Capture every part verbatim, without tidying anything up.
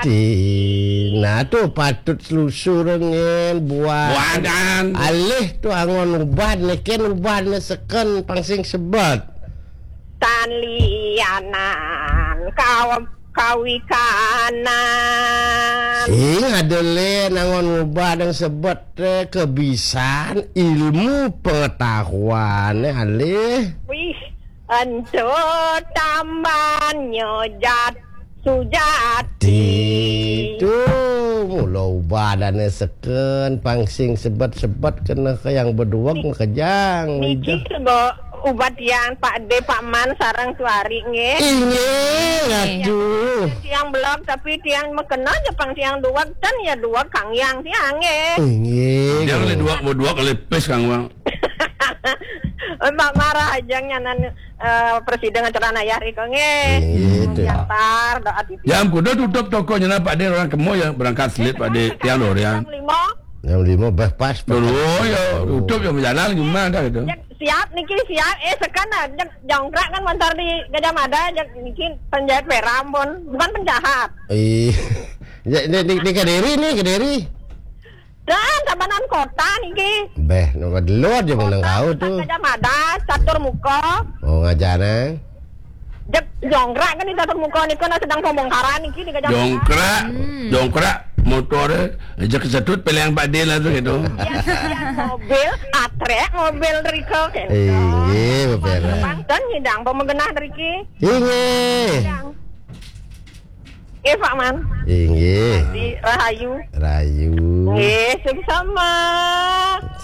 Ti, nah tu patut selusur ngen buah. Buahan. Alih tu angon ubad ne, ken ubad ne seken pang sing sebet. Tan lianan kaw-, kawikanan. Sing ada le nangon ubad yang sebet, eh, kebisan ilmu pengetahuan, eh, alih. Wih, ento tambannyo jat sujati. Tu, mula ubadane seken, pang sing sebet-sebet kena ke yang beduweg makejang. Niki sebo ubat yang Pak De, Pak Man, sareng Tuari nggih. Inggih, aduh. Tiang belog tapi tiang makena je pang tiang duweg, ten ya duweg kang yang tiang nggih. Inggih. Tiang le duweg, beduweg le pes kang wang. Mbak marah aja nyanan, eh, presiden ngeceran ayah riko nggih. Inggih, tu. Datar, doa titi. Jam kudu tutup toko nyenan Pak De, orang kemo ya berangkat selit Pak De, tiang dorian. Jam lima. Jam lima bah pas. Dulu ya tutup ya berjalan gimana dah gitu. Siap niki, siap. Eh, sekan dah. Jongkrak kan montor di Gajah Mada, niki penjahit peram pun. Bukan penjahat. Ih. Ya, ini, ini, ini Kediri nih, Kediri. Dan tabanan kota niki. Beh, nang dulu aja menang kau tu. Gajah Mada, catur muka. Oh, ngajar nang. Jek, jongkrak kan di catur muka niku, nah, sedang pembongkaran niki di Gajah Mada. Jongkrak, jongkrak motor, eh, jek kesetut peleng Pak De lah tu gitu. Mobil, atrek mobil riko gitu. Inggih, beberes. Bang, dan nyidang pemegenah riki. Inggih. Nggih, Pak Man. Inggih. Di Rahayu. Rahayu. Nggih, sama.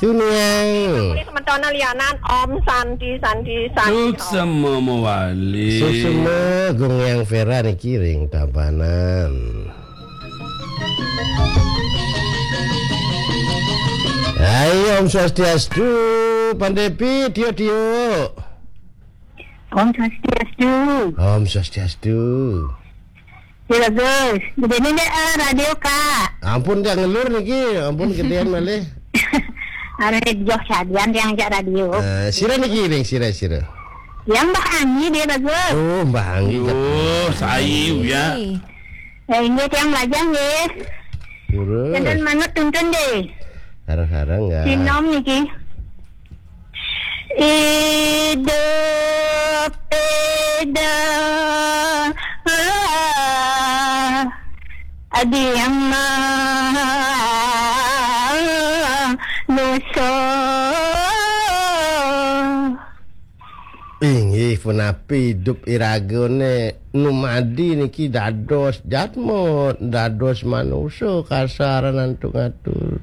Sunyang. Sementara lianan, Om Santi, Santi, Santi. Suksema mawali. Suksema Gung Yang Vera niki ring Tabanan. Hai, Om Swastiastu, Pandepi, Tio-tio. Om Swastiastu. Om Swastiastu. Ya, bagus. Jadi ini, eh, radio, Kak. Ampun, Kak, ngelur niki. Ampun, gedean malih. Arep joh sadian yang jak radio. Eh, sira niki ring sira, sira. Yang Mbah Anggi dia, bagus. Oh, Mbah Anggi. Oh, sayu ya. Ya, ini tiang lajang nggih. Terus. Jangan manut tuntun deh. Sareng-sareng ya. Sinom niki. Idup ida adi yang manusa. Inggih punapi idup iragane numadi niki dados jatmut, dados manusa kasaran antuk ngatur.